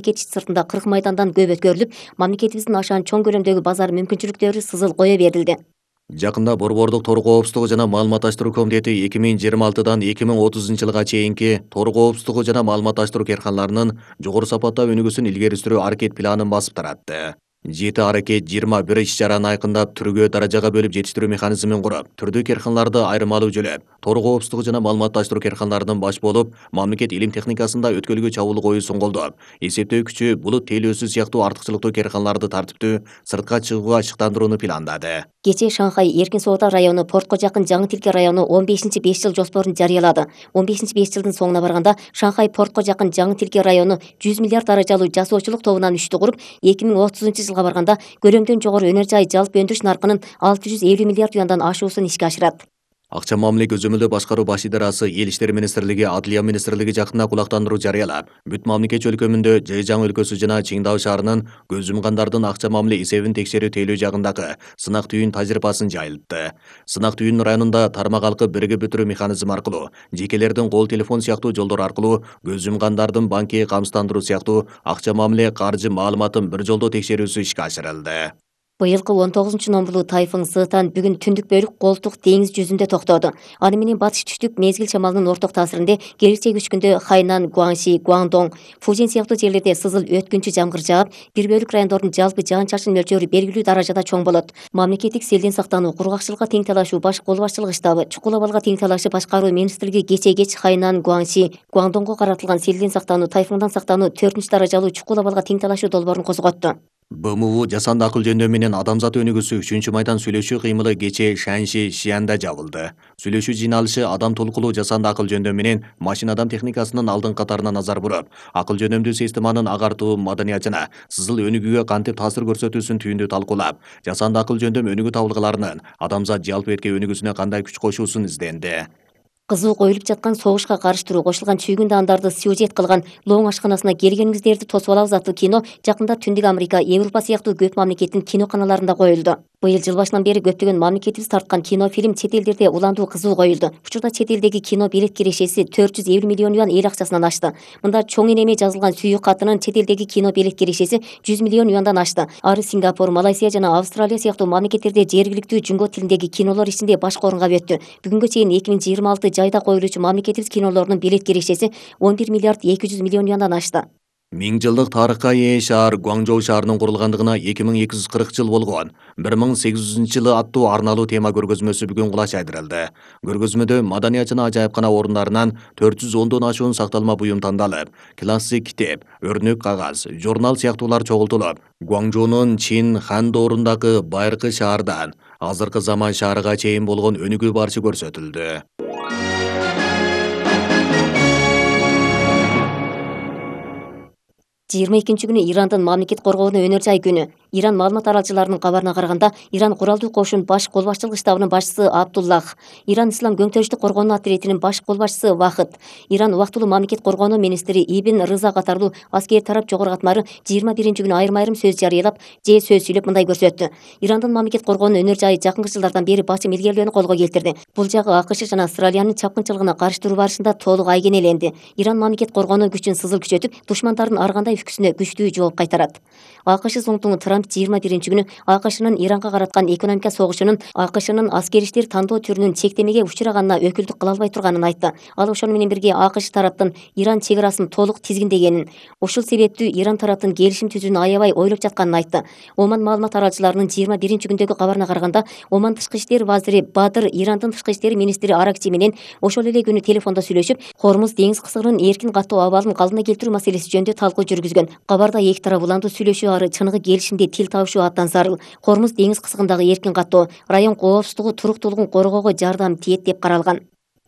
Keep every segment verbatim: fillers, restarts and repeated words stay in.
Мамлекет сыртында кырк майдандан көп өткөрүлүп, мамлекетибиздин ашаан чоң көлөмдөгү базар мүмкүнчүлүктөрү сызыл кое берилди. Жакында Борбордук тор коопсуздугу жана маалыматташтыруу комитети эки миң жыйырма алтыдан эки миң отузунчу жылга чейинки тор коопсуздугу жана маалыматташтыруу керканаларынын жогору сапаттагы өнүгүүсүн илгери сүрүү аракет планын басып таратты. Жети аракет жыйырма бир иш-чараны айкындап, түргө даражага бөлүп жетиштирүү механизмин куруп, түрдүү керканаларды айырмалуу жөлөп, тор коопсуздугу жана маалыматташтыруу керканаларынын баш болуп, мамлекет илим техникасында өткөлгө чабуул коюусун колдоп, эсептөө күчү, булут тейлөөсү сыяктуу артыкчылыктуу керканаларды тартиптүү сыртка чыгууга ашыктандырууну пландады. Кечээ Шанхай Эркин соода району Портко жакын Жаңы Тилке району он бешинчи беш жыл жоспорун жарыялады. он бешинчи беш жылдын соңуна барганда Шанхай Портко жакын Жаңы Тилке району жүз миллиард даражалуу жасоочулук тобунан үчтү куруп, эки миң отузунчу жылга барганда көлөмдөн жогору өнөр жай жалпы өндүрүш наркынын алты жүз элүү миллиард юандан ашуусун ишке ашырат. Акча мамиле көзөмөлдөө башкаруу баш идарасы Эл иштери министрлиги, Адлия министрлиги жакында кулактандыруу жарыялап, бүт мамлекет өлкөмүндө Жэжяң өлкөсү жана Чиңдау шаарынын көз жумгандардын акча мамиле эсебин текшерүү тейлөө жагындагы сынак түйүн тажрыйбасын жайылтты. Сынак түйүн районунда тармак алкы биригип өтүрүү механизми аркылуу, жекелердин кол телефон сыяктуу жолдор аркылуу көз жумгандардын банки камсыздандыруу сыяктуу акча мамиле каржы маалыматын бир жолдо текшерүүсү ишке ашырылды. Быйылкы он тогузунчу номурлуу тайфун Сытан бүгүн түндүк бөлүк Колтук деңиз жүзүндө токтоду. Аны менен батыш түштүк мезгил шамалынын орток таасиринде киргиче күчкүндө Хайнан, Гуанши, Гуандong, Фужин сыяктуу жерлерде сызыл өткүнчү жамгыр жаап, бир бөлүк райондордун жалпы жаан-чачын мөлчөрү белгилүү даражада чоң болот. Мамлекеттик селден сактануу, кургакчылыкка тең талашуу баш кол башчылык штабы, чукул абалга тең талашуу башкаруу министрлиги кечээ кеч Хайнан, Гуанши, Гуандонгго каратылган селден сактануу, тайфундан сактануу төртүнчү даражалуу чукул абалга тең талашуу долбоорун козготту. Б М У жасанды акыл жөндөмү менен адамзат өнүгүүсү үчүнчү майдан сүйлөшүү кыймылы кечээ Шанши Шиянда жабылды. Сүйлөшүү жыйналышы адам толкулуу жасанды акыл жөндөмү менен машина адам техникасынын алдыңкы катарына назар буруп, акыл жөнөмдүү системанын агартуу, маданият жана сызыл өнүгүүгө кантип таасир көрсөтүүсүн түйүндүү талкуулап, жасанды акыл жөндөмү өнүгүү табылгаларынын адамзат жалпы эрке өнүгүүсүнө кандай күч кошуусун изденди. Кызуу коюлуп жаткан согушка карыштыруу кошулган чүйгүн даандарды сюжет кылган Лоң ашканасына келгениңиздерди тосуп алабыз аттуу кино жакында Түндүк Америка, Европа сыяктуу көп мамлекеттин киноканаларында коюлду. Быйыл жыл башынан бери көптөгөн мамлекетибиз тарткан кинофильм чет элдерде уландуу кызуу коюлду. Учурда чет элдеги кино билет кирешеси төрт жүз элүү миллион юан эл акчасынан ашты. Мында чоң энеме жазылган сүйүү катынын чет элдеги кино билет кирешеси жүз миллион юандан ашты. Ары Сингапур, Малайзия жана Австралия сыяктуу мамлекеттерде жергиликтүү жүнгө тилиндеги кинолор ичинде башкы орунга өттү. Бүгүнгө чейин эки миң жыйырма алты жайда коюлуучу мамлекетибиз кинолорунун билет кирешеси он бир миллиард эки жүз миллион юандан ашты. Миң жылдык тарыхка ээ шаар Гуаңжоу шаарынын курулгандыгына эки миң эки жүз кырк жыл болгон бир миң сегиз жүзүнчү жылы аттуу арналуу тема көргөзмөсү бүгүн кулаш айдырылды. Көргөзмөдө маданият жана ажайыпкана орундарынан төрт жүз ондон ашуун сакталма буюм тандалып, классик китеп, өрнөк кагаз, журнал сыяктуулар чогултулуп, Гуаңжоунун Чин хан доорундагы байыркы шаардан азыркы заман шаарыга чейин болгон өнүгүү барышы көрсөтүлдү. жыйырма экинчи күнү Ирандын мамлекет коргоону өнөр жай күнү. Иран маалымат аралчыларынын кабарына караганда, Иран куралдуу кошун баш кол башчылык штабынын башчысы Абдуллах, Иран Ислам көңтөрүштүк коргоонуу отрядынын баш кол башчысы Вахыт, Иран убактылуу мамлекет коргоонуу министри Ибн Рыза катарлуу аскери тарап жогору катмары жыйырма биринчи күнү айрым-айрым сөз жарыялап, же сөз сүйлөп мындай көрсөттү. Ирандын мамлекет коргоонуу өнөр жайы жакынкы жылдардан бери басым илгерилөөнү колго келтирди. Бул жагы АКШ жана Австралиянын чапкынчылыгына карыштыруу барышында толук айгенеленди. Иран мамлекет коргоонуу күчүн сызыл күчөтүп, душмандардын ар кандай үпкүсүнө күчтүү жооп кайтарат. АКШ соңтуңу Трамп жыйырма биринчи күнү АКШнын Иранга караткан экономика согушунун АКШнын аскери иштер тандоо түрүнүн чектемеге учураганына өкүлдүк кыла албай турганын айтты. Ал ошону менен бирге АКШ тараптын Иран чек арасын толук тизгиндегенин, ушул себептүү Иран тараптын келишим түзүүнү аябай ойлоп жатканын айтты. Оман маалымат аралчыларынын жыйырма биринчи күндөгү кабарына караганда, Оман тышкы иштер вазири Бадыр Ирандын тышкы иштер министри Аракчи менен ошол эле күнү телефондо сүйлөшүп, Хормуз деңиз кысыгынын эркин каттоо абалын калыбына келтирүү маселеси жөнүндө талкуу жүргүзгөн. Кабарда эки тарап уландуу сүйлөшүү ары чыныгы келишимде тил табышуу абдан зарыл. Хормуз деңиз кысыгындагы эркин каттоо район коопсуздугу, туруктуулугун коргоого жардам тиет деп каралган.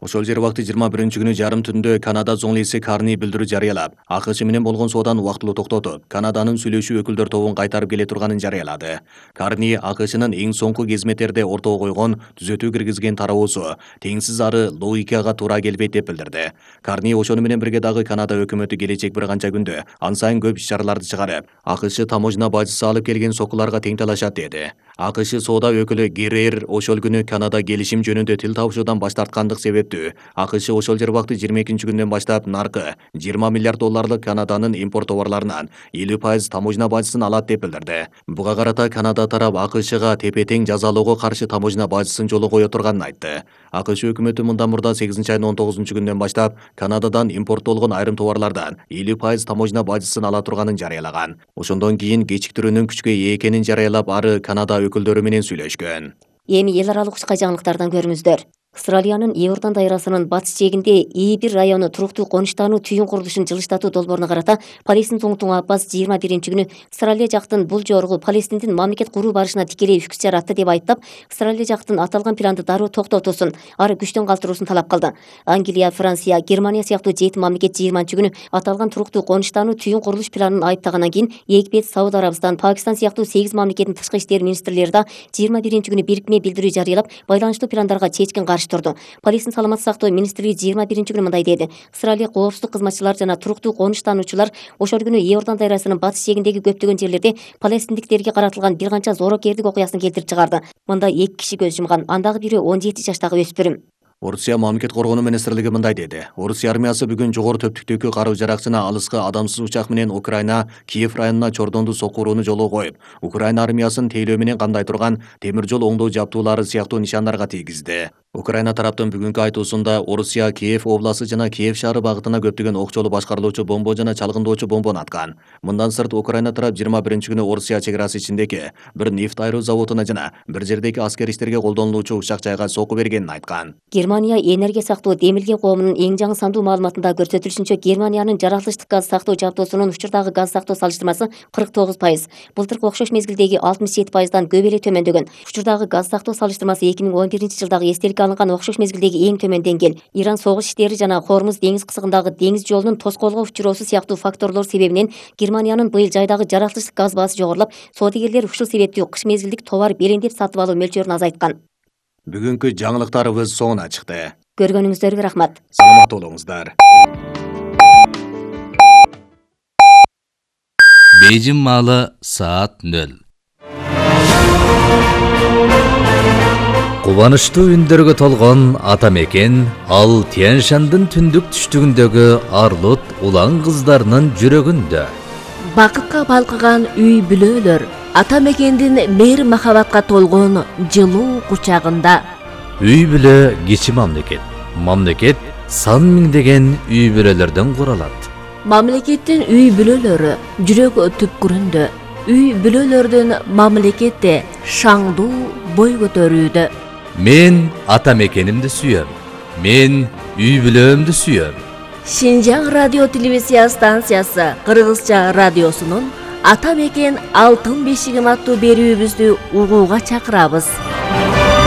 Ошол жер убакыты жыйырма биринчи күнү жарым түндө Канада зоңлиси Карни билдирүү жарыялап, АКШ менен болгон сооданын убактылуу токтотуп, Канаданын сүйлөшүү өкүлдөр тобун кайтарып келе турганын жарыялады. Карни АКШнын эң соңку кезметтерде ортого койгон түзөтүү киргизген тараабусу теңсиз ары логикага туура келбейт деп билдирди. Карни ошону менен бирге дагы Канада өкмөтү келечек бир канча күндө ан сайын көп иш-чараларды чыгарып, АКШ таможня бажысы алып келген сокуларга тең талашат деди. АКШ соода өкүлү Геррер ошол күнү Канада келишим жөнүндө тил табышуудан баш тарткандык себептүү АКШ ошол жербакты жыйырма экинчи күндөн баштап наркы жыйырма миллиард долларлык Канаданын импорт товарларынан элүү пайыз таможня бажысын алат деп билдирди. Буга карата Канада тарап АКШга тепе-тең жазалоого каршы таможня бажысын жолго кое турганын айтты. АКШ өкмөтү мындан мурда сегизинчи айдын он тогузунчу күндөн баштап Канададан импорттолгон айрым товарлардан элүү пайыз таможня бажысын ала турганын жарыялаган. Ошондон кийин кечиктирүүнүн күчкө ээ экенин жарыялап, ары Канада өкүлдөрү менен сүйлөшкөн. Эми эл аралык учка жаңылыктардан көрүңүздөр. Австралиянын Иордан дайрасынын батыш жээгинде И бир району туруктуу конуштануу түйүн курулушун жылыштатуу долбооруна карата Палестин тоңтуң Аббас жыйырма биринчи күнү Австралия жактын бул жоругу Палестиндин мамлекет куруу барышына тикелей үкүс жаратты деп айыптап, Австралия жактын аталган планды дароо токтотуусун, ары күчтөн калтыруусун талап кылды. Англия, Франция, Германия сыяктуу жети мамлекет жыйырманчы күнү аталган туруктуу конуштануу түйүн курулуш планын айыптагандан кийин Египет, Сауд Арабистан, Пакистан сыяктуу сегиз мамлекеттин тышкы иштер министрлери да жыйырма биринчи күнү бирикме билдирүү жарыялап, байланыштуу пландарга чечкин каршы турду. Палестин саламаттык сактоо министрлиги жыйырма биринчи күнү мындай деди: Австралия коопсуздук кызматчылары жана туруктуу конуштануучулар ошол күнү Иордан дайрасынын батыш жээгиндеги көптөгөн жерлерде палестиндиктерге каратылган бир канча жоорокердик окуясын келтирип чыгарды. Мында эки киши көз жумган, андагы бири он жети жаштагы өспүрүм. Орусия мамлекет коргонуу министрлиги мындай деди: Орусия армиясы бүгүн жогору төптүктөгү каруу-жарак жана алыскы адамсыз учак менен Украина Киев районуна чордонду сокурууну жолго коюп, Украина армиясын тейлөө менен камдай турган темир жол оңдоо жабдуулары сыяктуу нишандарга тийгизди. Украина тараптын бүгүнкү айтуусунда Орусия Киев областы жана Киев шаары багытына көптөгөн окчолуу башкарылуучу бомба жана чалгындоочу бомбону аткан. Мындан сырт Украина тарап жыйырма биринчи күнү Орусия чек арасы ичиндеги бир нефть айыруу заводуна жана бир жердеги аскер иштерге колдонулуучу учак жайга сокку бергенин айткан. Германия энергия сактоо демилген коомунун эң жаңы сандуу маалыматында көрсөтүлүшүнчө, Германиянын жаратылыштык газ сактоо жабдуусунун учурдагы газ сактоо салыштырмасы кырк тогуз пайыз. Былтыркы окшош мезгилдеги алтымыш жети пайыздан көп эле төмөндөгөн. Учурдагы газ сактоо салыштырмасы эки миң он биринчи жылдагы эстеликке алынган окшош мезгилдеги эң төмөн деңгээл. Иран согуш иштери жана Хормуз деңиз кысыгындагы деңиз жолунун тоскоолго учуроосу сыяктуу факторлор себебинен Германиянын быйыл жайдагы жаратылыштык газ баасы жогорулап, соодагерлер ушул себептүү кыш мезгилдик товар белеңдеп сатып алуу мөлчөрүн азайткан. Бүгүнкү жаңылыктарыбыз соңуна чыкты. Көргөнүңүздөргө рахмат. Саламат болуңуздар. Бейжин маалы саат нөл. Кубанычтуу үндөргө толгон ата мекен ал Тянь-Шандын түндүк түштүгүндөгү Арлут улан кыздарынын жүрөгүндө. Бакытка балкыган үй бүлөлөр ата мекендин мейир махабатка толгон жылуу кучагында. Үй бүлө кичи мамлекет. Мамлекет сан миңдеген үй бүлөлөрдөн куралат. Мамлекеттин үй бүлөлөрү жүрөк түпкүрүндө. Үй бүлөлөрдүн мамлекетте шаңдуу бой көтөрүүдө. Мен ата мекенимди сүйөм. Мен үй бүлөмдү сүйөм. Шинжаң радио телевизия станциясы Кыргызча радиосунун Ата мекен алтын бешигим аттуу берүүбүздү угууга чакырабыз.